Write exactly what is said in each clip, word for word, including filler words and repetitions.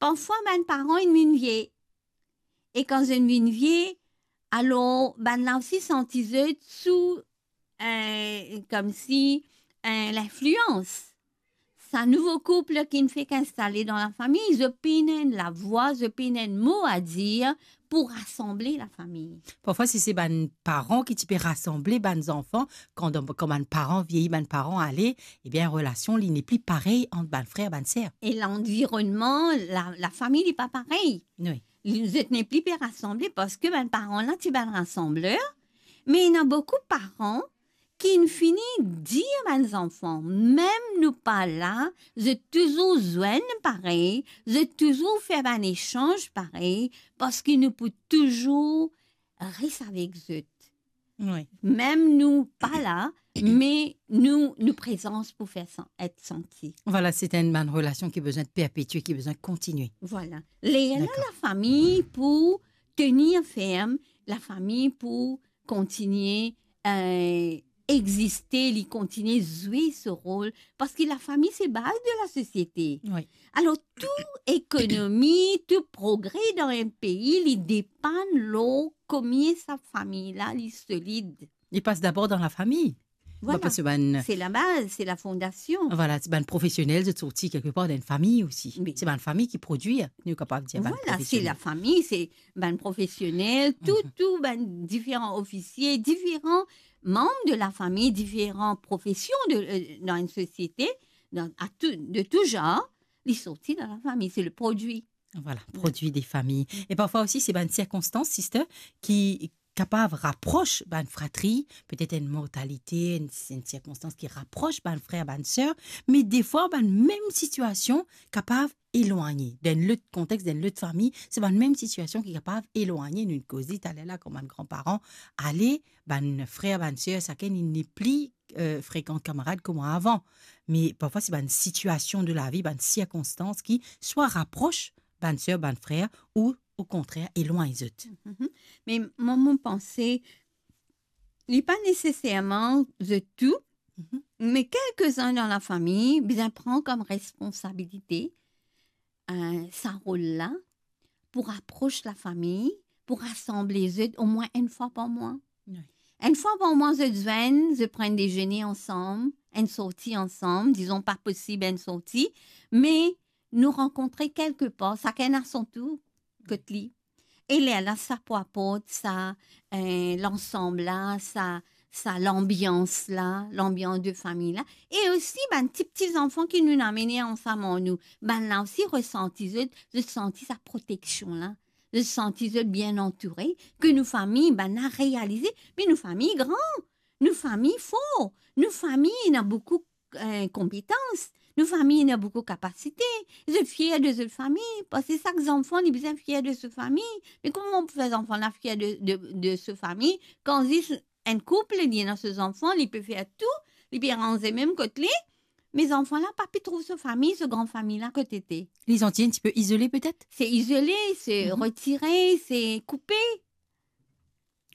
Parfwa bann paran inn vinn vie. E kan zot inn vinn vie, alor bann la osi santi zot sou, eh, koumsi, eh, linflians. Sa nouvo koup ki inn fek instale dan lafami, zot pena enn lavwa, zot pena enn mo a dir pou rasanble lafami. Parfwa, si se bann paran ki ti pe rasanble bann zanfan, kan, kan bann paran vieyi, bann paran ale, ebien, relasion li nepli parey ant bann frer, bann ser. E lanvironnman, la, lafami, li pa parey. Wi. Li, zot nepli pe rasanble parski bann paran la ti bann rasanbler, me ena boukou paran ki inn fini dir bann zanfan, mem nou pa la, zot touzour zwenn parey, zot touzour fer bann esanz parey, parski nou pou touzour res avek zot. Wi. Mem nou pa la, me nou, nou prezans pou fer san-, et santi. Vwala, se enn bann relasion ki bizin perpetie, ki bizin kontinie. Vwala. Ler la, dakor, lafami pou tenir ferm, lafami pou kontinie, eh, existe, li kontinie zwe so rol, parski lafami se baz de lasosiete. Wi. Alor, tou ekonomi, tou progre dan enn pei, li depann lor komie sa fami la, li solid. Li pas dabor dan lafami. Vwala. Parski bann, se labaz, se lafondasion. Vwala, se bann profesionel, zot sorti kelkepar dan enn fami osi. Wi. Se bann fami ki prodwir, nou kapav dir bann profesionel. Vwala, se lafami, se bann profesionel, tou, mhm, tou bann diferan ofisie, diferan manb de lafami, diferan profesion de, eh, dan enn sosiete, dan, a tou, de tou zanr, li sorti dan lafami, se le prodwi. Vwala, prodwi de fami. E parfwa osi, se bann sirkonstans, sister, ki kapav rapros bann fratri, petet enn mortalite, enn, enn sirkonstans ki rapros bann frer, bann ser, me defwa bann mem sitiasion kapav elwagne. Dan enn lot konteks, dan enn lot fami, se bann mem sitiasion ki kapav elwagne. Nou koz li taler la, kan bann granparan ale, bann frer, bann ser, sakenn, li nepli, eh, frekan kamarad kouma avan. Me parfwa, se bann sitiasion de lavi, bann sirkonstans ki swa rapros bann ser, bann frer, ou okontrer, elwagn zot. Mhm. Me mwa, mo panse, li pa neseserman zot tou, mhm, me kelkezinn dan lafami bizin pran kom responsabilite, eh, sa rol la, pou rapros lafami, pou rasanble zot omwin enn fwa par mwa. Wi. Enn fwa par mwa, zot zwenn, zot pran enn dezene ansam, enn sorti ansam, dizon pa posib enn sorti, me nou rankontre kelkepar, sakenn a son tour, kot li. E lerla sa pou aport sa, eh, lansam la, sa, sa lanbians la, lanbians de fami la. E osi bann ti, ti zanfan ki nou amene ansam ar nou, bann la osi resanti zot, zot santi sa proteksion la. Zot santi zot bien antoure, ke nou fami, bann la realize, me nou fami gran, nou fami for, nou fami ena boukou, eh, konpetans, nou fami ena boukou kapasite, zot fier de zot fami, parski sak zanfan li bizin fier de so fami. Me kouma ou pou fer zanfan la fier de, de, de so fami, kan zis enn koup, li ena so zanfan, li pe fer tou, li pe ranze mem kot li, me zanfan la pa pe trouv so fami, so gran fami la kot ete. Li santi enn tipe izole petet? Se izole, se, mhm, retire, se koupe.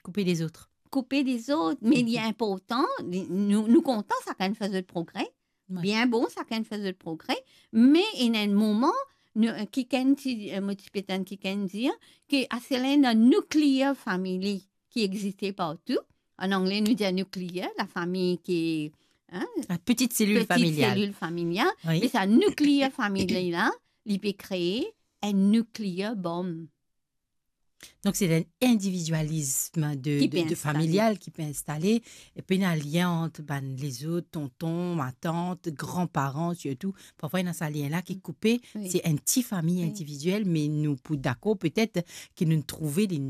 Koupe dezot. Koupe dezot, me li, mhm, inportan, li, nou, nou kontan sakenn fer zot progre. Wi. Bien bon, sakenn fer zot progre, me ena enn moman, nou, kikenn ti, eh, mo ti pe tann kikenn dir, ke aster la ena nuclear family ki existe partou. An angle, nou dir nuclear, lafami ki, hein, la petite cellule familiale. Petite cellule familiale. Wi. Me sa nuclear family la, li pe kree enn nuclear bomb. Donk, se enn individialism de, ki pe de, de instale. Familial ki pe instale, e pena lien ant bann lezot, tonton, matant, granparan sirtou. Parfwa, ena sa lien la ki koupe. Wi. Se enn ti fami, wi, individiel, me nou pou dakor petet ki nou trouve li,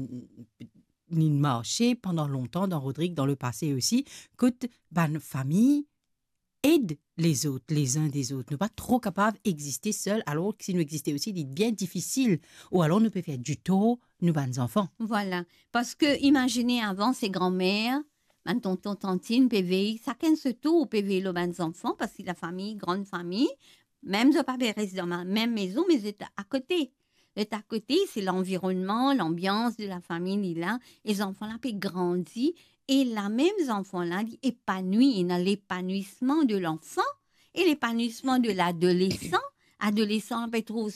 li marse pandan lontan dan Rodrig, dan lepase osi, kot bann fami ed lezot, lezin dezot. Nou pa tro kapav existe sel, alor ki si nou existe osi, li bien difisil, ou alor nou pe fer ditor nou bann zanfan. Vwala, parski imazine avan se granmer, bann tonton, tantin pe vey, sakenn so tour pe vey lor bann zanfan, parski lafami, gran fami, mem zot pa pe res dan ma-, mem mezon, me zot akote. Zot akote, se lanvironnman, lanbians de lafami li la, e zanfan la pe grandi, e la mem zanfan la, li epanwi, ena lepanwisman de lanfan e lepanwisman de ladolesan. Adolesan pe trouv so